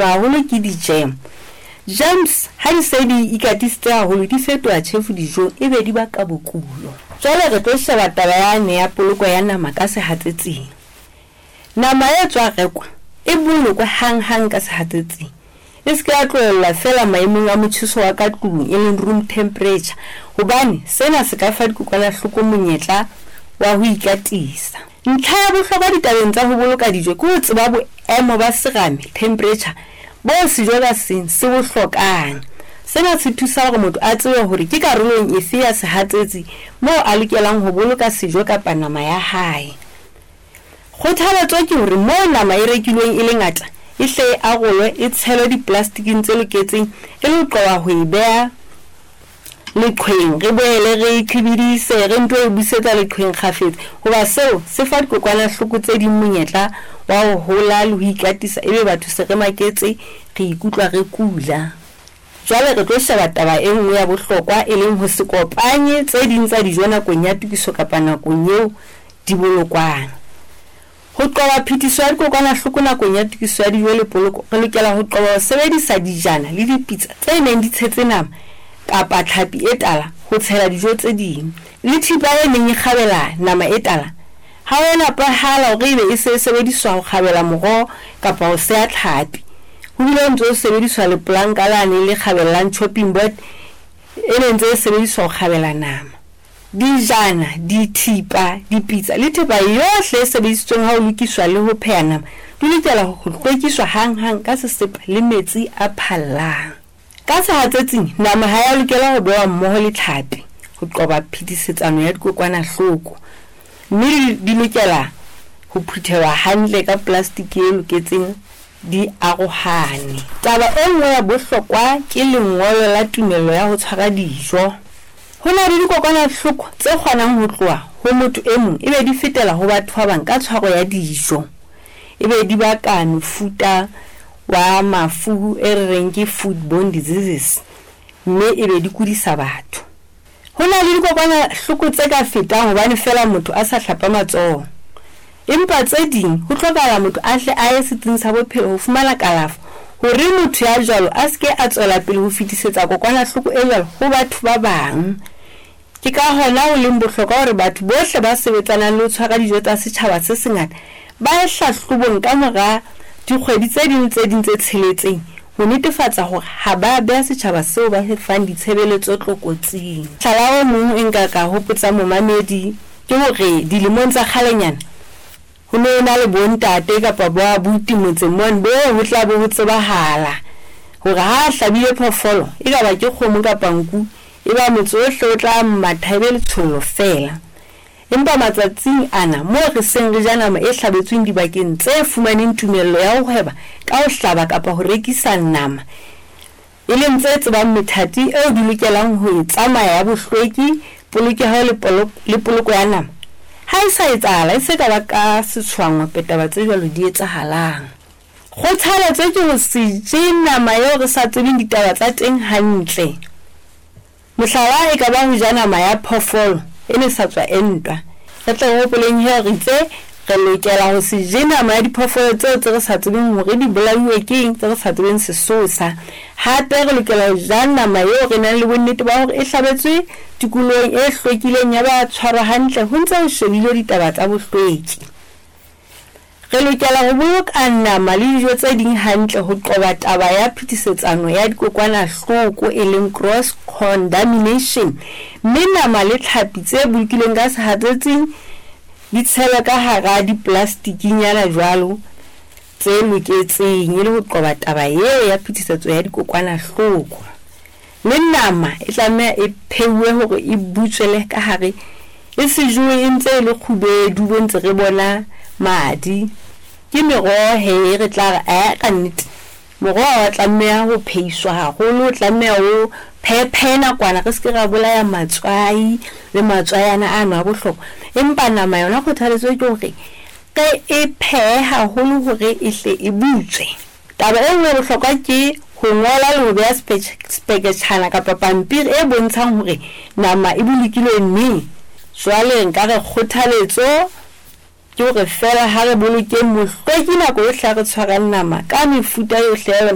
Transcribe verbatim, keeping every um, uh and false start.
Haholo ke di-jam. Jams ha di se di ikatisitse haholo di fetoha tjhefu dijong ebe di baka bokulo. Jwale re tlo sheba taba yane ya poloko ya nama ka sehatsetsing. Nama e tswa rekwa e bolokwe hanghang ka sehatsetsing. E se ke ya tlohellwa feela maemong a motjheso wa ka tlung e leng room temperature hobane sena se ka fa dikokwanahloko monyetla wa ho ikatisa. Ntlha ya bohlokwa ditabeng tsa ho boloka dijo ke ho tseba boemo ba serame, temperature, boo sejo ka seng se bo hlokang. Sena se thusa hore motho a tsebe hore ke karolong efe ya sehatsetsi moo a lokelang ho boloka sejo kapa nama ya hae. Kgothaletso ke hore moo nama e rekilweng e le ngata, e hle e arolwe, e tshelwe dipolastiking tse loketseng e le ho qoba ho e beha leqhweng, re boele re e qhibidihise, re nto e busetsa leqhweng kgafetsa hoba seo se fa dikokwanahloko tse ding monyetla wa ho hola le ho ikatisa ebe batho se re maketse, re ikutlwa re kula. Jwale re tlo sheba taba e nngwe ya bohlokwa e leng ho se kopanye tse ding tsa dijo nakong ya tokiso kapa nakong eo di bolokwang. Ho qoba phetiso ya dikokwanahloko nakong ya tokiso ya dijo le poloko, re lokela ho qoba ho sebedisa dijana le dipitsa tse neng di tshetse nama kapa tlhapi e tala ho tshela dijo tse ding. Le thipa e neng e kgabela nama e tala ha ho a nepahala hore ebe e se e sebediswa ho kgabela moroho kapa ho seha tlhapi. Ho bile ho ntse ho sebediswa lepolanka lane le kgabellang chopping board e ne ntse e sebediswa ho kgabela nama. Dijana, dithipa, dipitsa le thepa yohle e sebedisitsweng ha ho lokiswa le ho pheha nama di lokela ho hlwekiswa hanghang ka sesepa le metsi a phallang. Ka sehatsetsing, nama ha ya lokela ho behwa mmoho le tlhapi ho qoba phetisetsano ya dikokwanahloko, mme di lokela ho phuthelwa hantle ka plastiki e loketseng di arohane. Taba e nngwe ya bohlokwa ke lengolo la tumello ya ho tshwara dijo. Ho na le dikokwanahloko tse kgonang ho tloha ho motho e mong ebe di fetela ho batho ba bang ka tshwaro ya dijo, ebe di baka mefuta wa mafu e re reng ke foodborne diseases, mme ebe di kudisa batho. Ho na le dikokwanahloko tse ka fetang hobane feela motho a sa hlapa matsoho, empa tse ding ho hlokahala motho a hle a ye setsing sa bophelo ho fumana kalafo hore motho ya jwalo a se ke a tswela pele ho fetisetsa kokwanahloko e jwalo ho batho ba bang. Ke ka hona ho leng bohlokwa hore batho bohle ba sebetsanang le ho tshwara dijo tsa setjhaba se sengata ba ye hlahlobong ka mora dikgwedi tse ding le tse ding tse tsheletseng ho netefatsa hore ha ba beha setjhaba seo ba se fang ditshebeletso tlokotsing. Mohlala o mong e nka ka hopotsa momamedi ke hore dilemong tsa kgalenyana ho ne ho na le bontate kapa bo abuti motseng mone bo ho tla bo ho tsebahala hore ha a hlabile phoofolo e ka ba ke kgomo kapa nku e ba motse ohle o tla matha ebe letshollo feela. Empa matsatsing ana moo re seng re ja nama e hlabetsweng dibakeng tse fumaneng tumello ya ho hweba ka ho hlaba kapa ho rekisa nama, e leng tse tsebang methati eo di lokelang ho e tsamaya ya bohlweki, polokeho le polo, le poloko ya nama, ha e sa etsahala e se ka ba ka setshwangwape taba tse jwalo di etsahalang. Kgothaletso ke ho se je nama eo re sa tsebeng ditaba tsa teng hantle. Mohlala e ka ba ho ja nama ya phoofolo e ne sa tswa entwa. Re tle re hopoleng he re itse re lokela ho se je nama ya diphoofolo tseo tse re sa tsebeng hore di bolauwe ke eng, tse re sa tsebeng sesosa. Hape re lokela ho ja nama eo re nang le bonnete ba hore e hlabetswe tikolohong e hlwekileng ya ba tshwarwa hantle ho ntse ho shebilwe ditaba tsa bohlweki. Re lokela ho boloka nama le dijo tse ding hantle ho qoba taba ya phetisetsano ya dikokwanahloko e leng cross contamination, mme nama le tlhapi tse bolokilweng ka sehatsetsing di tshelwe ka hara dipolastikinyana jwalo tse loketseng e le ho qoba taba eo ya phetisetso ya dikokwanahloko. Le nama e tlameha e pheuwe hore e butswele ka hare, e se jowe e ntse e le kgubedu bo ntse re bona madi. Ke meroho he re tla re ae ka nnete moroho wa tlameha ho pheiswa haholo, o tlameha o phephe nakwana re se ke ra bolaya matswai le matswayana ano a bohlokwa. Empa nama yona kgothaletso ke hore re e phehe haholo hore e hle e butswe. Taba e nngwe ya bohlokwa ke ho ngola le ho beha speketjhana kapa pampiri e bontshang hore nama e bolokilwe neng. Jwale nka re kgothaletso ke hore feela ha re bolokeng bohlweki nako yohle ha re tshwarang nama ka mefuta yohle ya yona.